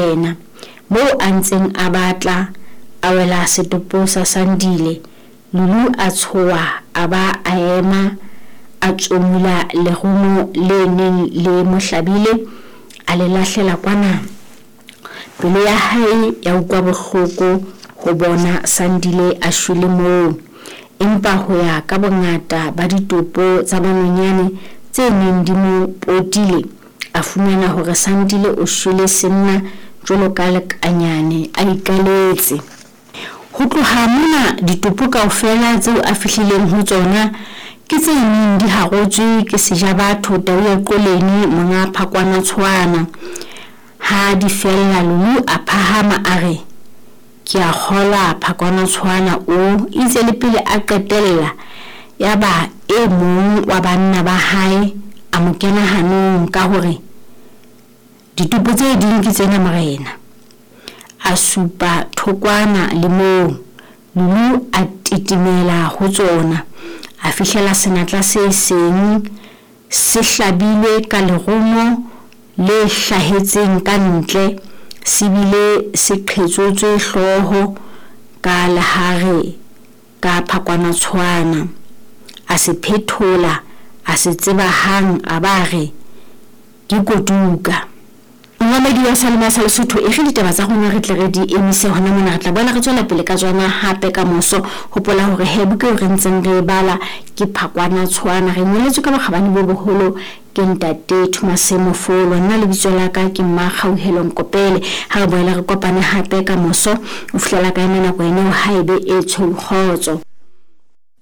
morena. Moo a ntseng a batla, a wela setopo sa Sandile. Lulu a tshoha a ba a ema a tsomula lerumo le neng le mo hlabile a le lahlela kwana. Pelo ya hae ya utlwa bohloko ho bona Sandile a shwele moo. Empa ho ya ka bongata ba ditopo tsa manonyane tse neng di mo potile, a fumana hore Sandile o shwele senna jwalo ka lekanyane a ikaletse. Ho tloha mona ditopo kaofela tseo a fihlileng ho tsona ke tse neng di harotswe ke Sejabatho tau ya Qoleni monga Phakwana Tshoana. Ha di fella Lulu a phahama a re, Ke a kgolwa Phakwana Tshoana o itse le pele a qetella yaba e mong wa banna ba hae a mo kena hanong ka hore, Ditopo tse ding ke tsena morena. A supa thokwana le moo. Lulu a titimela ho tsona. A fihlela senatla se seng se hlabilwe ka lerumo le hlahetseng ka ntle se bile se qhetsotswe hlooho ka lehare ka phakwanatshwana. A se phethola, a se tseba hang a ba a re, Ke Kotuka. Momamedi wa Salema sa Lesotho, e re ditaba tsa rona re tle re di emise hona mona. Re tla boela re tswela pele ka tsona hape ka moso. Hopola hore he buka eo re ntseng re e bala ke Phakwanatshwana. Re ngoletswe ka bokgabane bo boholo ke Ntate Thumase Mofolo. Nna lebitso la ka ke Mmakgauhelo Nkopele. Ha re boele re kopane hape ka moso. Ho fihlela ka yona nako ena eo, ha e be e tshweu kgotso.